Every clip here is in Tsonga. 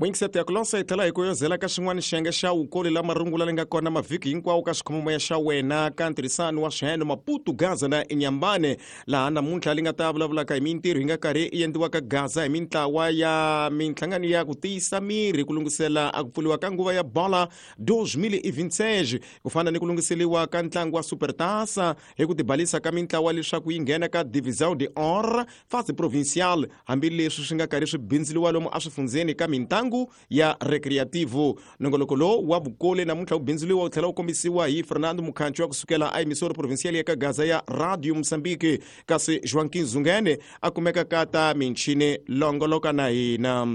Mwingiseti ya ku lonsa hi tlhela hi ku yozela ka xin'wana xiyenge xa wukoli la marungula leyi nga kona mavhiki hinkwawo ka xikhomomoya xa wena ka ntirhisano wa swiheno Maputo, Gaza na Inyambane, laha namuntlha li nga ta vulavulaka hi mintirho yi nga karhi yi endliwa ka Gaza hi mintlawa ya minhlangano ya ku tiyisa miri ku lunghisela a ku pfuriwa ka nguva ya bola 2026, ku fana ni ku lunghiseriwa ka ntlangu wa Supertasa hi ku tibalisa ka mintlawa leswaku yi nghena ka Divisão de Or fase provincial, hambileswi swi nga karhi swi bindzuriwa lomu eswifundzeni ka mintlangu ya recreativo. Nongoloko lowu wa vukoli namuntlha wu bindzuriwa wu tlhela wu kombisiwa hi Fernando Mukhanchi wa kusukela a emisoro provincial ya ka Gaza ya Radio Mozambique, kasi Joaquim Zungene a kumeka ka ta michini longoloka na hina.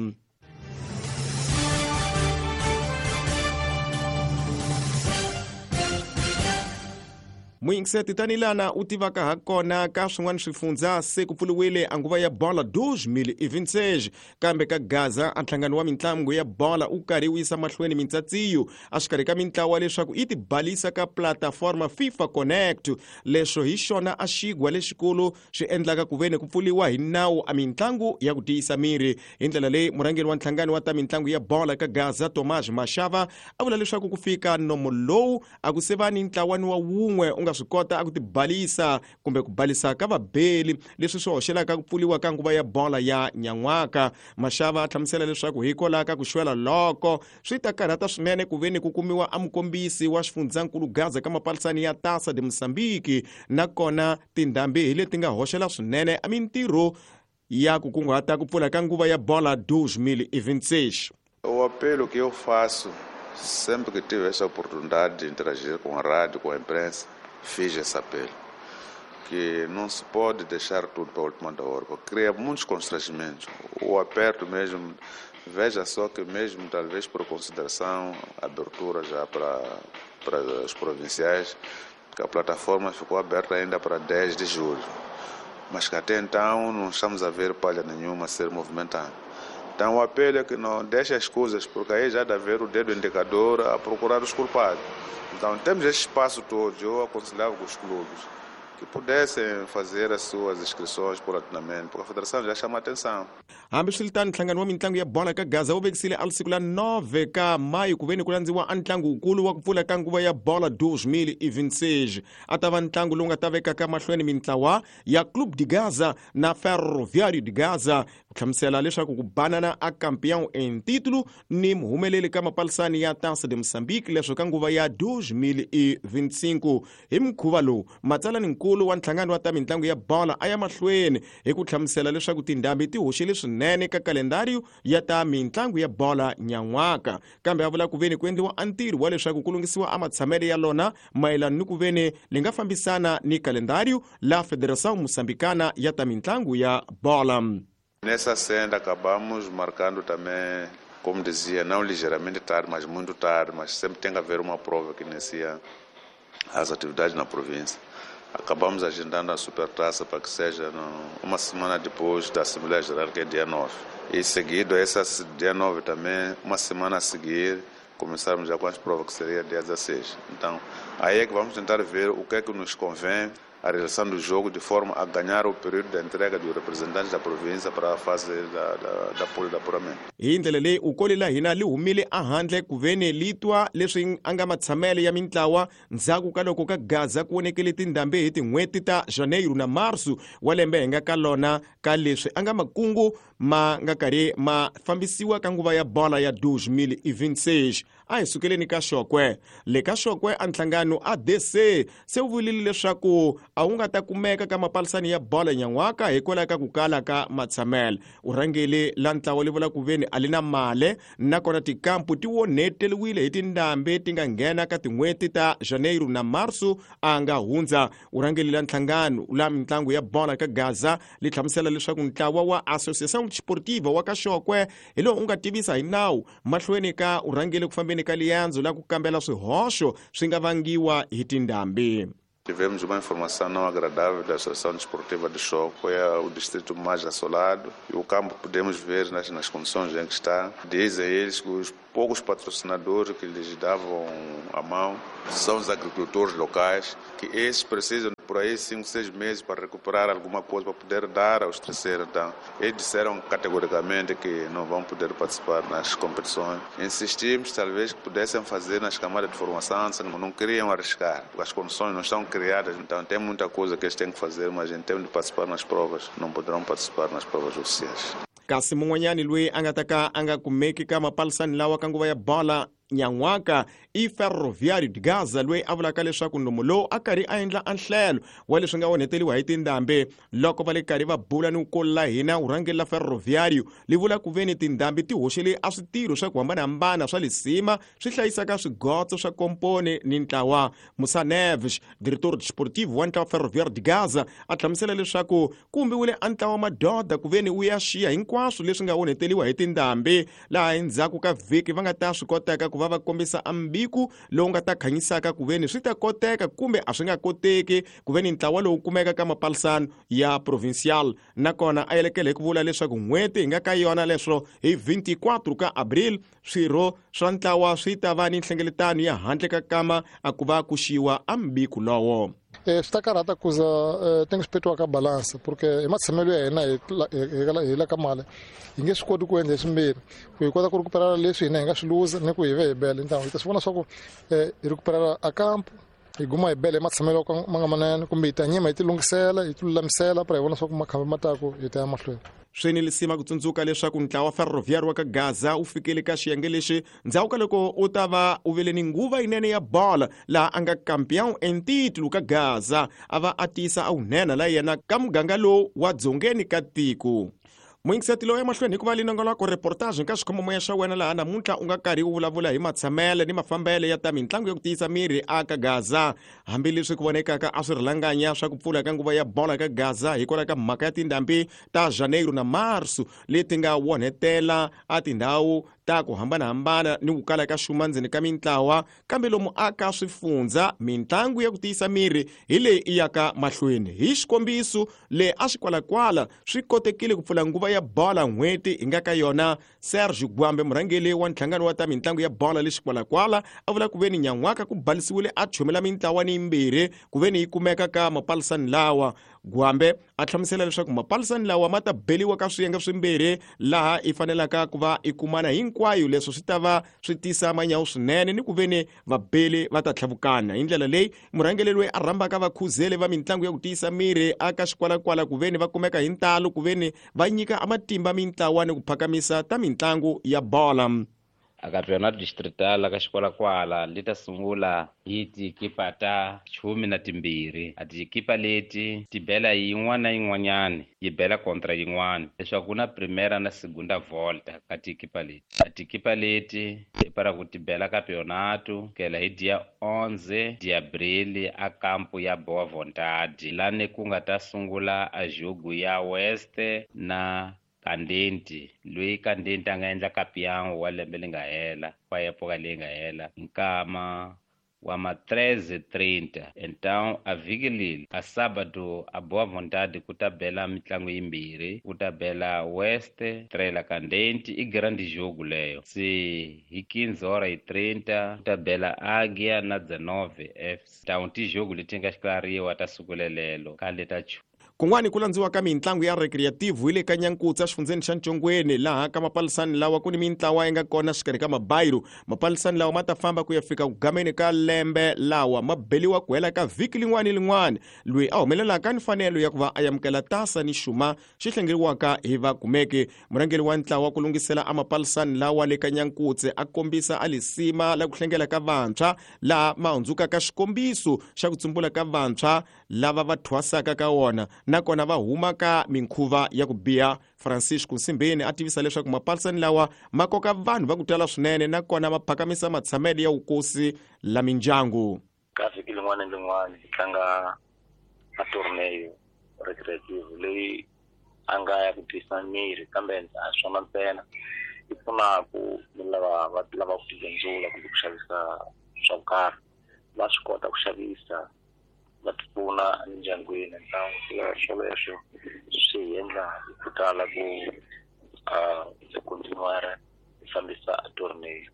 Muyingiseti, tanilana u tivaka ha kona ka swin'wana swifundza se ku pfuriwile a nguva ya bola 2026, kambe ka Gaza a nhlangano wa mitlangu ya bola u karhi wu yisa mahlweni mintsatsiyo exikarhi ka mintlawa leswaku yi tibalisa ka plataforma FIFA Connect. Leswo hi xona a xigwa lexikulu swi endlaka ku veni ku pfuriwa hi nawu a mitlangu ya ku tiyisa miri. Hi ndlela leyi, murhangeri wa nhlangano wa ta mitlangu ya bola ka Gaza, Tomas Mashava, a vula leswaku ku fika nomo lowu a ku se va ni ntlawani wa wun'we u nga swi kota a ku tibalisa kumbe ku balisa ka vabeli, leswi swi hoxelaka ku pfuriwa ka nguva ya bola ya nyan'waka. Mashava a hlamusela leswaku hikwalaho ka ku xwela loko swi ta karhata swinene ku veni ku kumiwa a mukombisi wa xifundzankulu Gaza ka mapalisani ya Taça de Moçambique, nakona tindhambi hi leti nga hoxela swinene a mintirho ya ku kunguhata ku pfula ka nguva ya bola 2026. O apelo que eu faço sempre que tive essa oportunidade de interagir com a rádio, com a imprensa, fiz esse apelo. Que não se pode deixar tudo para a última hora, porque cria muitos constrangimentos. O aperto mesmo, veja só que mesmo talvez por consideração, abertura já para os provinciais, que a plataforma ficou aberta ainda para 10 de julho. Mas que até então não estamos a ver palha nenhuma ser movimentada. Então o apelo é que não deixe as coisas, porque aí já dá ver o dedo indicador a procurar os culpados. Então temos esse espaço todo, eu aconselhava com os clubes que pudessem fazer as suas inscrições paulatinamente, porque a federação já chama atenção. Hambiswiritano, nhlangano wa mitlangu ya bola ka Gaza wu vekisile a siku la 9 ka mayi ku veni ku landziwa a ntlangu wukulu wa ku pfula ka nguva ya bola 2026. A ta va ntlangu lowu nga ta vekaka mahlweni mintlawa ya Clube de Gaza na Ferroviário de Gaza, ku hlamusela leswaku ku banana a campeão em título ni muhumeleli ka mapalisani ya Taça de Moçambique leswo ka nguva ya 2025. Hi mukhuva lowu, matsalaninkulu wa nhlangano wa ta mitlangu ya bola a ya mahlweni hi ku hlamusela leswaku tindhambi ti hoxile swinene ka kalendariyo ya ta mitlangu ya bola nyan'waka, kambe a vula ku veni ku endliwa a ntirho wa leswaku ku lunghisiwa a matshamelo ya lona mayelana ni ku veni li nga fambisana ni kalendariyo la Federação Moçambicana ya ta mitlangu ya bola. Nessa senda acabamos marcando também, como dizia, não ligeiramente tarde, mas muito tarde, mas sempre tem que haver uma prova que inicia as atividades na província. Acabamos agendando a supertaça para que seja uma semana depois da Assembleia Geral, que é dia 9. E seguido a essa dia 9 também, uma semana a seguir, começarmos já com as provas, que seria dia 16. Então, aí é que vamos tentar ver o que é que nos convém a realização do jogo, de forma a ganhar o período da entrega dos representantes da província para a fase da pool de apuramento. Hi ndlela leyi, ukoli la hina li humile ehandle ku veni li twa leswi a nga matshamelo ya mintlawa ndzhaku ka loko ka Gaza ku vonekele tindhambi hi tin'hweti ta Janeiro na Marso wa lembe hi nga ka lona, ka leswi a nga makungu ma nga karhi ma fambisiwa ka nguva ya bola ya 2026. A hi sukeleni ka Xokwe. Le ka Xokwe, a nhlangano ADC se wu vulile leswaku a wu nga ta kumeka ka mapalisani ya bola nyan'waka hikwalaho ka ku kala ka matshamelo. U rhangeli la ntlawa li vula ku veni a li na male, nakona tikampu ti onheteriwile hi tindhambi ti nga nghena ka tin'hweti ta Janeiro na Marso a nga hundza. U rhangeli la nhlangano la mitlangu ya bola ka Gaza li hlamusela leswaku ntlawa wa Associação Desportiva wa ka Xokwe hi lowu u nga tivisa hi nawu mahlweni ka u rhangele ku fambeni ka liyandzo la ku kambela swihoxo swi nga vangiwa hi tindhambi. Tivemos uma informação não agradável da Associação Desportiva de Chókwè, é o distrito mais assolado, e o campo podemos ver nas condições em que está. Dizem eles que os poucos patrocinadores que lhes davam a mão são os agricultores locais, que esses precisam Por aí 5, 6 meses para recuperar alguma coisa, para poder dar aos terceiros. Então, eles disseram categoricamente que não vão poder participar nas competições. Insistimos, talvez, que pudessem fazer nas camadas de formação, não queriam arriscar, porque as condições não estão criadas. Então, tem muita coisa que eles têm que fazer, mas em termos de participar nas provas, não poderão participar nas provas oficiais. Kasi mun'wanyani loyi a nga ta ka a nga kumeki ka mapalisani lawa ka nguva ya bola nyan'waka i Ferroviário de Gaza, loyi a vulaka leswaku nomu lowu a karhi a endla anhlelo wa leswi nga onheteriwa hi tindhambi. Loko va le karhi va bula ni ku la hina urhangeri la Ferroviário li vula ku veni tindhambi ti hoxele a switirho swa ku hambanahambana swa lisima swi hlayisaka swigotso swa komponi ni ntlawa. Musa Neves, diretor desportivo wa ntlawa Ferroviário de Gaza, a hlamusela leswaku ku vumbiwile a ntlawa madoda ku veni wu ya xiya hinkwaswo leswi nga onheteriwa hi tindhambi, laha endzhaku ka vhiki va nga ta swi kotaka ku va va kombisa ambiku lowu nga ta khanyisaka ku veni swi ta koteka kumbe a swi nga koteki ku veni ntlawa lowu kumeka ka mapalisano ya provincial. Nakona a yelekele hi ku vula leswaku n'hweti hi nga ka yona leswo hi 24 ka abril swirho swa ntlawa swi ta va ni nhlengeletano ya handle ka kama a ku va ku xiwa ambiku lowo. Swi ta karhata ku za ti nga swi petiwa ka balance, porque hi matshamelo ya hina hi la ka mali hi nge swi koti ku endla swimbirhi, ku hi kota ku recuperara leswi hina hi nga swi luza ni ku hi ve hi bele. Ntango hi ta swi vona swa ku hi recuperara a kampo hi guma hi bele hi matshamelo ma nga manene, kumbe hi ta nyima hi ti lunghisela hi ti lulamisela para hi vona swa ku makhamba ma taku hi ta ya mahlweni. Swi ni lisima ku tsundzuka leswaku ntlawa Ferroviário wa ka Gaza wu fikele ka xiyenge lexi ndzhaku ka loko u ta va u vele ni nguva yinene ya bola, laha a nga campeão em título ka Gaza, a va a tiyisa a wunhenha la yena ka muganga lowu wa dzongeni ka tiko. Muyingiseti lowu emahlweni hikuva linongoloko reportage ka xikhomomoya xa wena laha namuntlha u nga karhi u vulavula hi matshamele ni mafambele ya ta mitlangu ya ku tiyisa miri aka Gaza. Hambileswi ku vonekaka a swi rilanganya swa ku pfula ka nguva ya bola ka Gaza hikwalaho ka mhaka ya tindhambi ta Janeiro na Marso leti nga wonhetela a tindhawu ta ku hambanahambana ni ku kala ka xuma ndzeni ka mintlawa, kambe lomu aka swifundza mitlangu ya ku tiyisa miri hi leyi i yaka mahlweni. Hi xikombiso le a xikwalakwala swi kotekile ku pfula nguva ya bola n'hweti hi nga ka yona. Sergio Gwambe, murhangeri wa nhlangano wa ta mitlangu ya bola le xikwalakwala, a vula ku veni nyan'waka ku balisiwile a chumela mintlawa ni yimbirhi ku veni yi kumeka ka mapalisani lawa. Gwambe a hlamusela leswaku mapalisani lawa ma ta beliwa ka swiyenge swimbirhi laha i fanelaka ku va i kumana hinkwayo, leswi swi ta va swi tisa manyawu swinene ni ku veni vabeli va ta tlhavukana. Hi ndlela leyi murhangeri loyi a rhambaka vakhuzeli va mitlangu ya ku tiyisa miri aka xikwalakwala ku veni va kumeka hi ntalo ku veni va nyika amatimba mintlawa ni ku phakamisa ta mitlangu ya bola. A campeonato distrital ka xikwalakwala li ta sungula hi tikipa ta 12. A tikipa leti ti bela yin'wana na yin'wanyani yi bela kontra yin'wana, leswaku ku na primera na segunda volta ka tikipa leti. A tikipa leti i para ku ti bela campeonato kela hi dia 11 de abril a kampo ya Boa Vontade, lani ku nga ta sungula a jogo ya West na Kandenti, loyi Kandenti a nga endla campeão wa lembe li nga hela, wa epoka leyi nga hela, nkama wa ma 13:30. Então a vhiki leli a sábado a Boa Vontade ku ta bela mitlangu yimbirhi, ku ta bela West Trela Kandenti, i grande jogo leyo. Se hi 15:30 ku ta bela Águia na 19 FC. Então ti jogo leti nga xiklariwa ta siku lelelo khale ta Kun'wani ku landziwa ka mitlangu ya recreative hi le ka Nyankutsa xifundzeni xa Ntshongweni, laha ka mapalisani lawa ku ni mintlawa yi nga kona xikarhi ka mabayiro. Mapalisani lawa ma ta famba ku ya fika ku gameni ka lembe lawa ma beliwa ku hela ka vhiki lin'wana ni lin'wana. Loyi a humelelaka ni mfanelo ya ku va a amukela tasa ni xuma xi hlengeriwaka hi vakumeki. Murhangeri wa ntlawa ku lunghisela a mapalisani lawa le ka Nyankutse a kombisa a lisima la ku hlengela ka vantshwa, laha ma hundzukaka xikombiso xa ku tsumbula ka vantshwa lava va thwasaka ka wona, nakona va huma ka minkhuva ya ku biha. Francisco Nsimbeni a tivisa leswaku mapalisani lawa ma koka vanhu va ku tala swinene, nakona ma phakamisa matshamelo ya vukosi la mindyangu. Ka vhiki lin'wana ni lin'wana hi tlanga a torneo recreative leyi a nga ya ku tiyisa miri, kambe a swona ntsena, yi pfunaku ni lava va lavaka ku tibindzula kumbe ku xavisa swa ku karhi, va swi kota ku xavisa va ti pfuna emindyangwini. Ntlangu swoleswo swi hi endla hi khutala ku hi continuer hi fambisa torneo.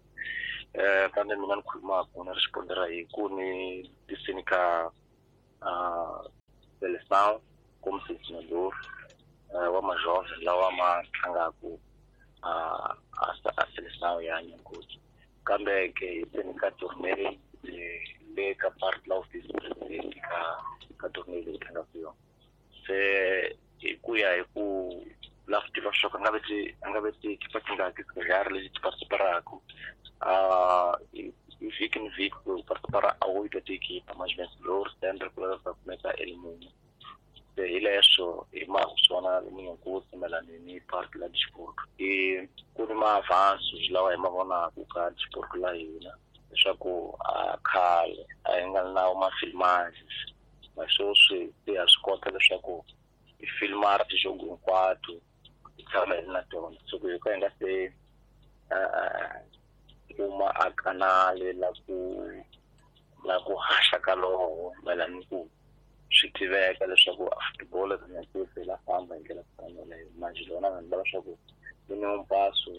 Kambe mina ni khulumaku ni ri xipondera hi ku ni tisini ka seleção como selecionador wa majovem lawa ma tlangaku a seleção ya Nyankosi kambe ke hi ka tournée le ka part la office president ka tournée leyi tlangaka yona se hi ku ya hi ku la swi tiva swa ku a nga ve tikipa tingaki tikari leti ti participaraku hi vhiki ni vhiki ku participara a oito tiekipa mas vencedor sempre ku va kumeka elimune se hi leswo hi mhaka swona Nyankosi mayelana ni part la disport i ku ni ma-avances lawa hi ma vonaku ka disport la hina leswaku a khale a hi nga na ma-filmages ma sweswi se ha swi kota leswaku hi filmara tijogo hinkwato hi tshama hi ri na tona so ku hi ka hi nga se kuma a kanale la ku haxa ka loho mayelana ni ku swi tiveka leswaku a football Nyankosi la famba hi ndlela ku fana leyo manje lona vanhu va leswaku yi ni um passo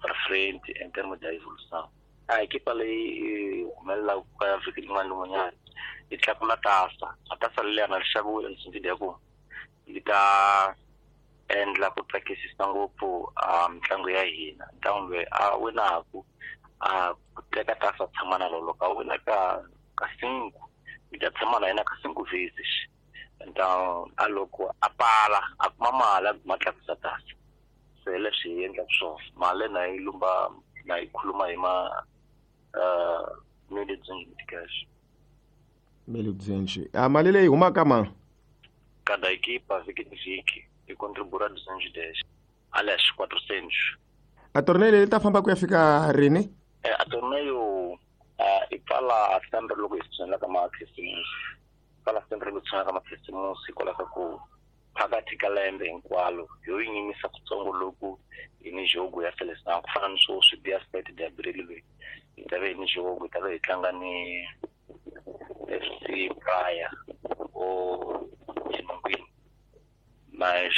para frente em termos de evolução. A equipa leyi humelelaka ka vhiki rin'wana ni rin'wanyana yi tlakula tasa a tasa leriya na ri xaviwile ni sindile ya ku yi ta endla ku tsakisisa ngopfu mitlangu ya hina ntlangu loyi a winaku a teka tasa tshama na lolo ka wina ka cinco yi ta tshama na yena ka cinco vezes então a loko a pala a kuma mali a guma tlakusa tasa se leswi hi endlaka swona mali na yi lumba na yi khuluma hi ma 1.200 1.200 a mali leyi humaka ma cada equipa vhiki ni vhiki yi contribua 210 aliás 400. A torneio leyi ta famba ku ya fika rini? A torneio i pfala sempre loko hi tshinela ka makhisimusi pfala sempre loko tshinela ka makhisimusi hikwalaho ka ku phakathi ka lembe hinkwalo yo yi nyimisa kutsongo loku hi ni jogo ya seleção ku fana ni sweswi dia 7 de abril leyi hi ta ve hi ni jogo hi ta ve hi tlanga ni FC Praia o Xinungwini mas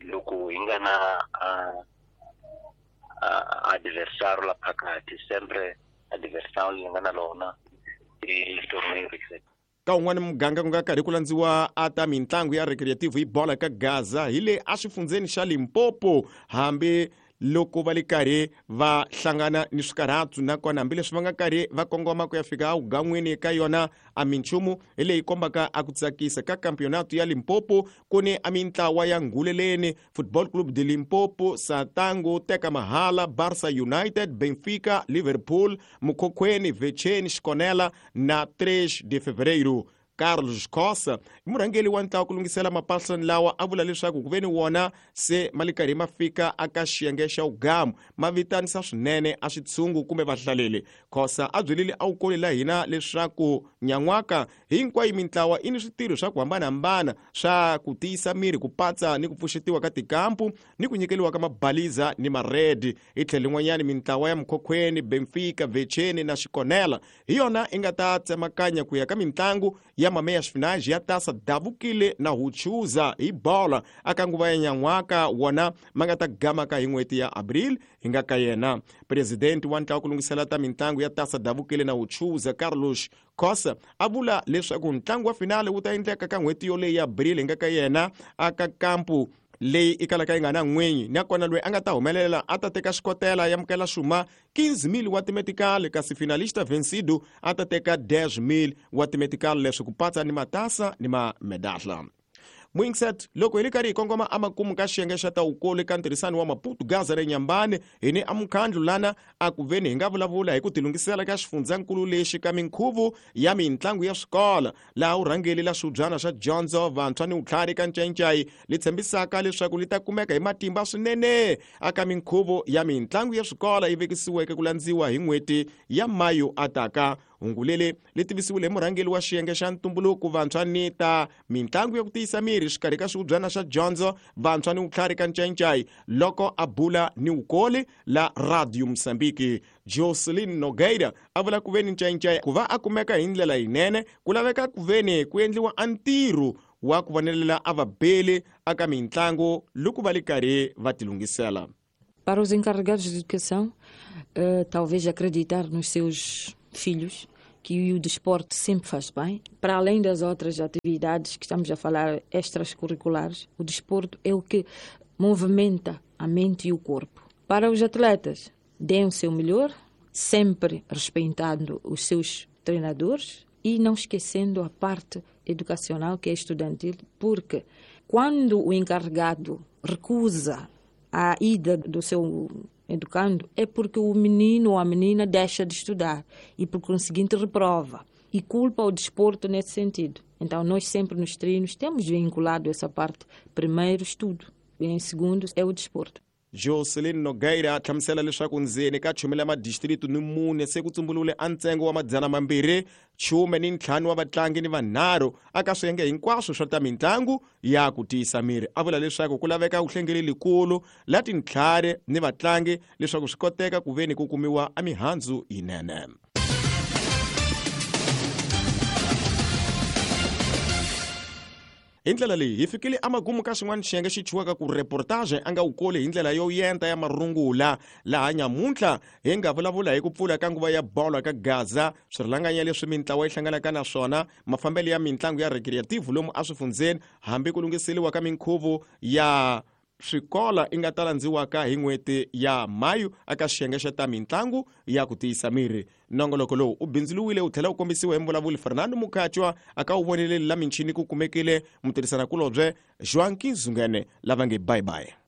loko hi nga na adversário la phakathi sempre adversário leyi nga na lona i torneio ka un'wana muganga ku nga karhi ku landziwa a ta mitlangu ya recreative hi bola ka Gaza hi le exifundzeni xa Limpopo hambi loko va le karhi va hlangana ni swikarhatso nakona hambileswi va nga karhi va kongoma ku ya fika awugan'wini ka yona a minchumu hi leyi kombaka a ku tsakisa ka campeonato ya Limpopo ku ni a mintlawa ya Nguleleni Football Club de Limpopo, Satango, Teka Mahala, Barca United, Benfica, Liverpool, Mukhokhweni, Vecheni, Xikonela na 3 de Fevereiro. Carlos Costa i murhangeri wa ntlawa ku lunghisela mapasani lawa a vula leswaku ku ve ni wona se ma le karhi ma fika aka xiyenge xa wugamu ma vitanisa swinene a switshungu kumbe vahlaleli. Khosa a byelile a wukoli la hina leswaku nyan'waka hinkwayo mintlawa i ni switirho swa ku hambanahambana swa ku tiyisa miri ku patsa ni ku pfuxetiwa ka tikampu ni ku nyikeliwa ka mabaliza ni maredi. Hi tlhelo lin'wanyani mintlawa ya Mukhokhweni, Benfica, Vecheni na Xikonela hi yona i nga ta tsemakanya ku ya ka mintlangu ya mameya xifinaji ya tasa davukile na huchuza hi bola aka nguva ya nyan'waka wona ma nga ta gamaka hi n'hweti ya abril hi nga ka yena. Presidenti wa ntlawa ku lunghisela ta mintlangu ya tasa davukile na huchuza Carlos Costa a vula leswaku ntlangu wa finale wu ta endleka ka n'hweti yoleyi ya abril hi nga ka yena aka kampu leyi i kalaka yi nga na n'winyi nakona loyi a nga ta humelela a ta teka xikotela ya mukela xuma 15,000 wa timetikali kasi finalista vencido a ta teka 10,000 wa timetikali leswi ku patsa ni matasa ni mamedahla. Mwingset loko hi li karhi hi kongoma amakumu ka xiyenge xa tawukulu eka ntirhisano wa Maputo Gaza re Nyambane hi ni amukhandlu lana a ku veni hi nga vulavula hi ku tilunghisela ka xifundzankulu lexi ka minkhuvo ya mintlangu ya swikolo laha urhangeli la swibyana swa dyondzo vantshwa ni vutlhari ka Ncayincai li tshembisaka leswaku li ta kumeka hi matimba swinene aka minkhuvo ya mintlangu ya swikolo yi vekisiweke ku landziwa hi n'hweti ya Mayu ataka. Hungu leri li tivisiwile hi murhangeri wa xiyenge xa ntumbuluko vantshwa ni ta mintlangu ya ku tiyisa miri xikarhi ka swihubyana swa dyondzo vantshwa ni vutlhari ka Ncayincai loko a bula ni wukoli la Radio Mozambique. Jocelyn Nogueira a vula ku veni Ncayincai ku va a kumeka hi ndlela yinene ku laveka ku veni ku endliwa a ntirho wa ku vonelela a vabeli aka mintlangu loko va li karhi va tilunghisela. Para os encarregados de educação, talvez acreditar nos seus filhos Que o desporto sempre faz bem. Para além das outras atividades que estamos a falar, extracurriculares, o desporto é o que movimenta a mente e o corpo. Para os atletas, deem o seu melhor, sempre respeitando os seus treinadores e não esquecendo a parte educacional, que é estudantil, porque quando o encarregado recusa a ida do seu educando, é porque o menino ou a menina deixa de estudar e, por conseguinte, reprova. E culpa o desporto nesse sentido. Então, nós sempre nos treinos temos vinculado essa parte. Primeiro, estudo. E em segundo, é o desporto. Jocelyn Nogueira a hlamusela leswaku ndzeni ka chumela madistritu ni mune se ku tsumbulule a ntsengo wa 215 wa vatlangi ni vanharhu aka swiyenge hinkwaswo swa ta mitlangu ya ku tiyisa miri. A vula leswaku ku laveka vuhlengeli likulu la tintlhari ni vatlangi leswaku swi koteka ku veni ku kumiwa a mihandzu yinene. Hi ndlela leyi hi fikile amagumu ka xin'wana xiyenge xi chuwaka ku reportage a nga wu koli hi ndlela yo yenta ya marungula. Laha nyamuntlha hi nga vulavula hi ku pfula ka nguva ya bolo ka Gaza, swirhalanganya leswi mintlawa yi hlanganaka na swona, mafambelo ya mitlangu ya recreative lomu eswifundzeni, hambi ku lunghiseriwa ka minkhuvo ya swikola i nga ta landziwaka hi n'hweti ya Mayu aka xiyenge xa ta mitlangu ya ku tiyisa miri. Nongoloko lowu u bindzuluwile wu tlhela wu kombisiwa hi mvulavuli Fernando Mukhatshwa aka wu voneleli la michini ku kumekile mutirhisanakulobye Joaquim Zungene lava nge bye bye.